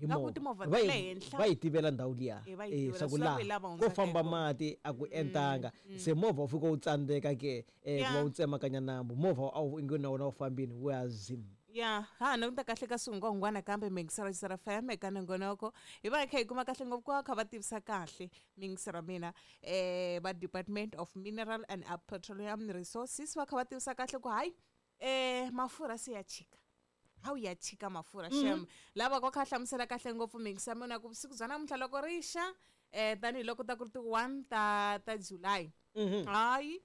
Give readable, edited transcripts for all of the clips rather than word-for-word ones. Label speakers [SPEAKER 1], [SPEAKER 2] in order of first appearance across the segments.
[SPEAKER 1] Hi
[SPEAKER 2] Nga ku
[SPEAKER 1] movha.
[SPEAKER 2] timovha
[SPEAKER 1] Va
[SPEAKER 2] ta
[SPEAKER 1] yi-
[SPEAKER 2] le henhla.
[SPEAKER 1] va yi tivela ndhawu liya.
[SPEAKER 2] Eh, va yi
[SPEAKER 1] Eh,
[SPEAKER 2] tivela.
[SPEAKER 1] swa ku
[SPEAKER 2] Swi lava
[SPEAKER 1] laha
[SPEAKER 2] ku hi lava
[SPEAKER 1] ko
[SPEAKER 2] hundzaka
[SPEAKER 1] famba
[SPEAKER 2] hi kona.
[SPEAKER 1] mati a ku entanga se movha wu fika wu tsandzeka ke ku va wu tsemakanya nambu movha a wu inge na wona wu fambini wu ya zim.
[SPEAKER 2] Ya ha languta kahle ka swihungwahungwana kambe miyingiselo ya FM eka nongonoko hi va hi kha hi kuma kahle ngopfu ku va kha va tivisa kahle miyingiselo ya mina va Department of Mineral and Petroleum Resources va kha va tivisa kahle ku hayi mafurha se ya chika hawu ya chika mafurha shem lava va kha hlamusela kahle ngopfu miyingisa mina ku vusiku bya namuntlha loko ri xa tanihiloko ta ku ri ti-1 ta July hayi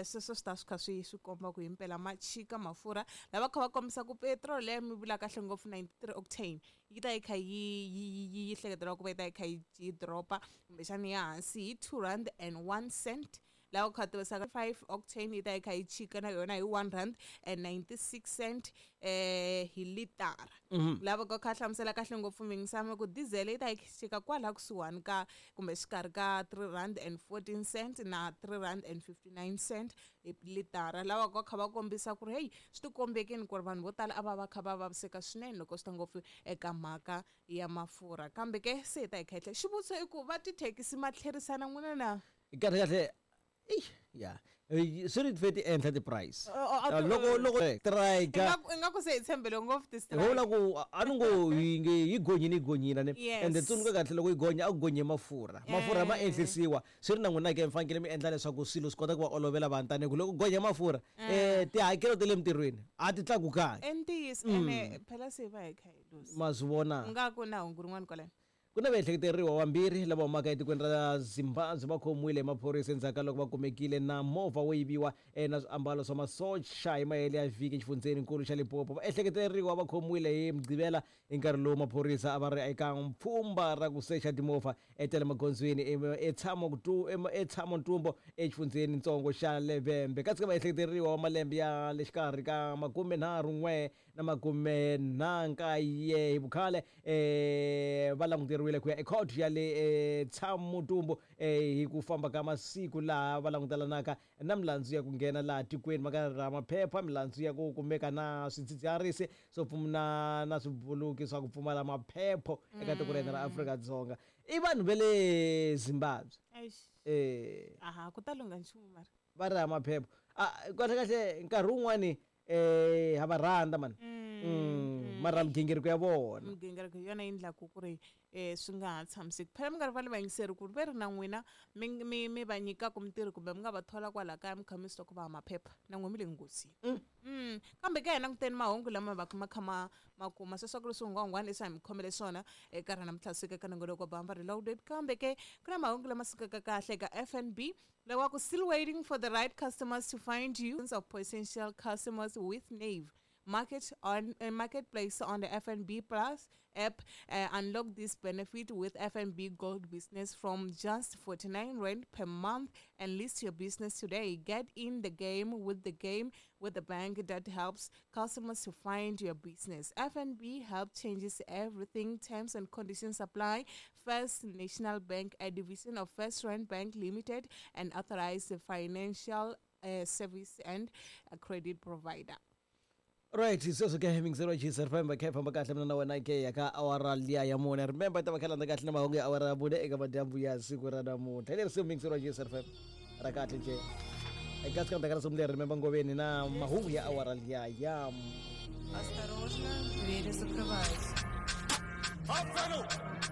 [SPEAKER 2] sweswo swi ta swi kha swi komba ku himpela ma chika mafurha lava kha va kombisa ku petrol leyi mi vula kahle ngopfu 93 octane yi ta yi kha yi hleketeriwa ku va yi ta yi kha yi dropa kumbexani ya hansi hi 2 rand and 1 cent lava kha tivisa 5 octane yi ta yi kha yi chika na yona hi 1 rand and 96 cent hi litara lava ka kha hlamusela kahle ngopfu mingisama ku diesel yi ta yi chika kwala kusuhani ka kumbe xikarhi ka 3 rand and 14 cent na 3 rand and 59 cent hi litara lava ka kha va kombisa ku ri hey swi tikombekini ku ri vanhu vo tala a va va kha va vaviseka swinene loko swi ta ngopfu eka mhaka ya mafurha kambe ke se hi ta hi kha hi tlhela xivutiso i ku va tithekisi ma tlherisana n'wina na
[SPEAKER 1] Kahle kahle ya swi ri fe ti enhla ti-price.
[SPEAKER 2] Oh, oh,
[SPEAKER 1] Loko strike
[SPEAKER 2] ingaku se hi tshembele ngopfu ti-strike.
[SPEAKER 1] Ho la ku a ni ngo yi nge yi gonyini yi gonyina ne.
[SPEAKER 2] Yes.
[SPEAKER 1] Ende tsundzuka kahle loko yi gonya a ku gonye mafurha mafurha ma enhlisiwa swi ri na n'wina ke mi fanekele mi endla leswaku swilo swi kota ku va olovela vanhu tanihi ku loko gonya mafurha tihakelo ta le mintirhweni a ti tlakukangi.
[SPEAKER 2] Ntiyiso ene phela se va hi kha hi luza
[SPEAKER 1] Ma swi vona
[SPEAKER 2] u nga ku na hungu rin'wana kwalano.
[SPEAKER 1] Ku na vaehleketeriwa vambirhi lava humaka etikweni ra Zimbabwe va khomiwile hi maphorisa endzhaku ka loko va kumekile na movha wo yiviwa na swiambalo swa masocha hi mahele ya vhiki exifundzheninkulu xa Limpopo. Vaehleketeriwa va khomiwile hi Mugqivela hi nkarhi lowu maphorisa a va ri eka pfhumba ra ku secha timovha ta le magondzweni eTshamontumbo exifundzhenintsongo xa Levembe. Kasi ka vaehleketeriwa va malembe ya le xikarhi ka 31 na 49 hi vukhale va languteriwile ku ya ekhotho ya le Tshamutumbu hi ku famba ka masiku laha va langutelanaka na milandzu ya ku nghena laha tikweni va nga ra maphepha milandzu ya ku kumeka na swidzidziharisi swo pfuna na swibuluki swa ku pfumala maphepho eka tiko ra hina ra Afrika-Dzonga i vanhu va le Zimbabwe.
[SPEAKER 2] Aha ku ta lungha nchumu mara
[SPEAKER 1] va ri maphepho kahle kahle nkarhi wun'wani ha va rhandza mani mara migingiriko ya vona
[SPEAKER 2] migingiriko yona yi endlaku ku ri swi nga ha tshamiseki phela mi nga rivali vayingiseri ku ri ve ri na n'wina mi va nyikaka mintirho kumbe mi nga va thola kwala kaya mi kha mi swi twa ku va maphepha na n'we mi le nghozini. Kambe ka hina languteni mahungu lama va ma kha ma kuma sweswo ku ri swihungwahungwana leswi a hi mi khomele swona eka rona namuntlha suka eka nongonoko wa Bamba Reloaded kambe ke ku na mahungu lama sukaka kahle eka FNB lawa ku still waiting for the right customers to find you of potential customers with Nave Market on marketplace on the FNB Plus app. Unlock this benefit with FNB Gold Business from just 49 rand per month and list your business today. Get in the game with the bank that helps customers to find your business. FNB help changes everything. Terms and conditions apply. First National Bank, a division of First Rand Bank Limited, and authorized financial service and a credit provider.
[SPEAKER 1] Right, sweswo ke mingiselo wa FM khe famba kahle mina na wena ke ya ka awara liya ya mune. Remember ta va kha landza kahle na mahungu ya awara ya mune eka madyambu ya siku ra namuntlha. Hi leri siku mingiselo wa FM ra kahle nje. Eka siku ra siku leri remember ngoveni na mahungu ya awara liya ya
[SPEAKER 3] Осторожно, двери закрываются.